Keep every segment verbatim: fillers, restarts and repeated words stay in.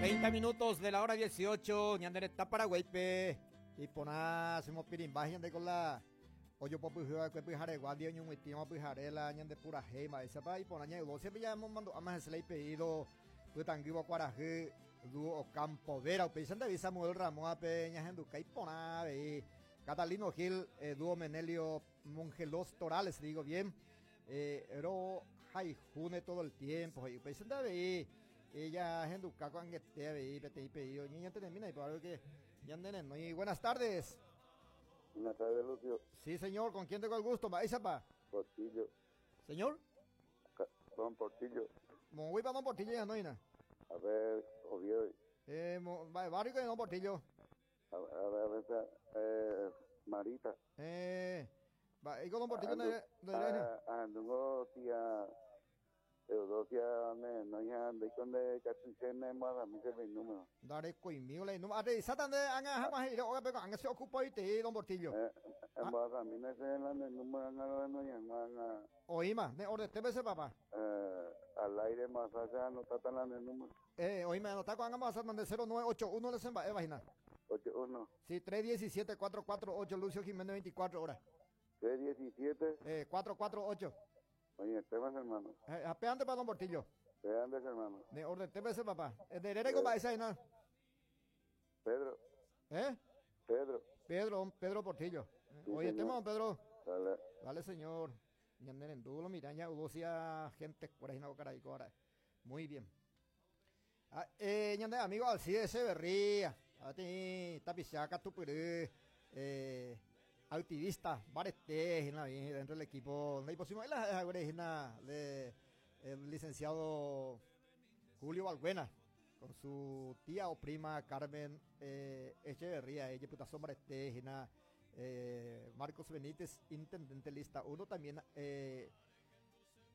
Treinta minutos de la hora dieciocho, ñande Paraguaype, iporã chemopirimba ñande con la ojopopyhy va'ekue pyharegua ndive oñug̃uitĩva pyhare la ñande purahéi mba'éichapa iporã ñaeudosia mandu'áma hese la ipedido pytãngývo kuarahy dúo Ocampo Vera upéicha ndevi Samuel Ramóape ñahenduka iporã avei Catalino Gil, eh, dúo Menelio Mongelos Torales, digo bien, eh, ro haihúne todo el tiempo upéicha nde avei ella henduka ko'ag̃aite avei peteĩ pedido ñañantenẽmína iporã que ñandenenói. Buenas tardes. Buenas tardes, Lucio. Sí, señor, ¿con quién tengo el gusto? Mba'éichapa. Portillo. Señor. Don Portillo. Moõguipa don Portillo ñanoína. A ver, Oviedo. Eh, mo, barrio de don Portillo. A, a ver, a ver, eh, Marita. Eh, va, ¿y con don Portillo de, de, Andungo tía Eudosia me no ya de con de catuchene más a mí se me número. Dare coimio le número. Arre, de anga jamás iré, oga pero anga se ocupa y te don Portillo. Eh, a mí no se la número anga no ya anga. Oíma, de orden te ese papá. Eh, al aire más allá no está tan la número. Eh, oíme, anota con anga más mande cero nueve ocho uno le semba, eh, vagina. ocho uno. Sí, tres diecisiete cuatro cuatro ocho Lucio Jiménez veinticuatro horas. tres diecisiete. Eh, cuatro cuatro ocho. Oye, temas, hermano. Eh, apeante para don Portillo. Peantes, hermano. De orden, T P C, papá. De Herrera y compa, esa ahí, ¿no? Pedro. ¿Eh? Pedro. Pedro, Pedro Portillo. Sí, Oye, señor. tema, don Pedro. Dale. Dale, señor. Ñanderendulo, mira, ya hubo gente por ahí, no, caray, ahora. Muy bien. Ah, eh, ñande, amigo Alcides Echeverría. A ti, tapichaca, tupurú. Eh, activista, barete, dentro del equipo. De la de el licenciado Julio Balbuena, con su tía o prima Carmen eh, Echeverría, ella puta sombra eh, Marcos Benítez, intendente lista uno, también eh,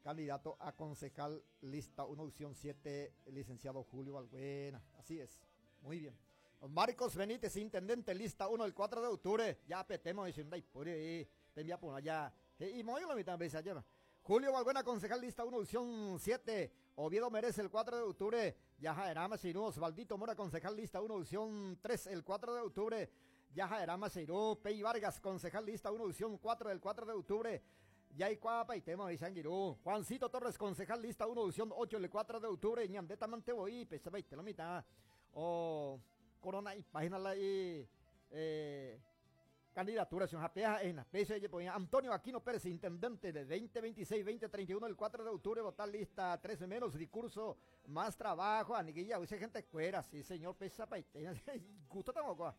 candidato a concejal lista uno, opción siete, licenciado Julio Balbuena. Así es, muy bien. Marcos Benítez, intendente, lista uno, el cuatro de octubre. Ya petemos, diciendo, ay, por ahí, te envía por allá. Y muy la mitad, ves allá. Julio Balbuena, concejal, lista uno, opción siete. Oviedo merece el cuatro de octubre. Yajaerama Seirú. Osvaldito Mora, concejal, lista uno, opción tres, el cuatro de octubre. Yajaerama Seirú. Pey Vargas, concejal, lista uno, opción cuatro, el cuatro de octubre. Yaicuapa y tema de Sanguirú. Juancito Torres, concejal, lista uno, opción ocho, el cuatro de octubre. Ñandeta Manteboí, pesa y la mitad. O Corona y página la y eh, candidatura, en la Antonio Aquino Pérez, intendente de veinte veintiséis, veinte treinta y uno, el cuatro de octubre, votar lista trece menos, discurso, más trabajo, aniguilla, usa gente cuera, sí señor, pesa paitena, gusto tampoco.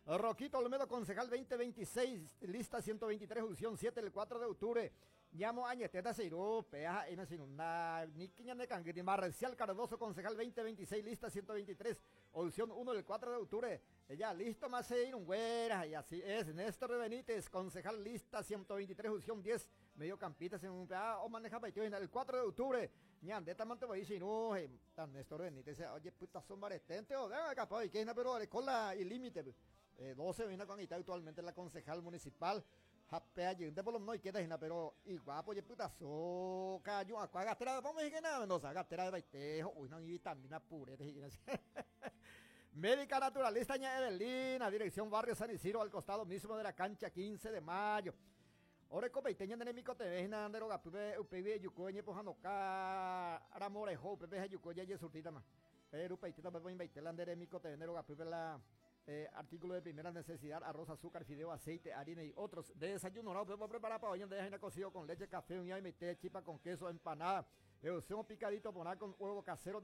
Roquito Olmedo, concejal veinte veintiséis, lista ciento veintitrés, opción siete, el cuatro de octubre. Llamo a Ñeteta Seirú, peaja, y no sin una, ni quiña de canguiti. Marcial Cardoso, concejal veinte veintiséis, lista ciento veintitrés, opción uno, el cuatro de octubre. Ya, listo, más güera, y así es. Néstor Benítez, concejal lista ciento veintitrés, opción diez, medio campita, sin un pea, o maneja paiteo, el cuatro de octubre. Ñandeta Manteboí, Seirú, tan Néstor Benítez, oye, puta, son baretente, o venga, capaz, y que pero con la y límite. Eh, doce viene con Ita actualmente la concejal municipal. Japea, de por lo menos y queda, pero igual, pues, puta, soca, yo, acá, gatera, vamos a decir que nada, Mendoza, gatera de baitejo, uy, no, y vitamina pura, Médica naturalista ña Evelina, dirección Barrio San Isidro, al costado mismo de la cancha quince de mayo. Ore copeiteña de Nemico T V, Nandero, Gapibe, U P B, Yucoñe, Pojanoca, Aramorejo, U P B, Yucoñe, Yesurtita, ma. Pero Peitita, Pepo, Invaitela, Andere, Mico T V, Nero, Gapibe, la. Eh, artículo de primera necesidad, arroz, azúcar, fideo, aceite, harina y otros. De desayuno, no, podemos preparar para hoy en día, cocido con leche, café, un y té, chipa con queso, empanada, un picadito, poná con huevo casero,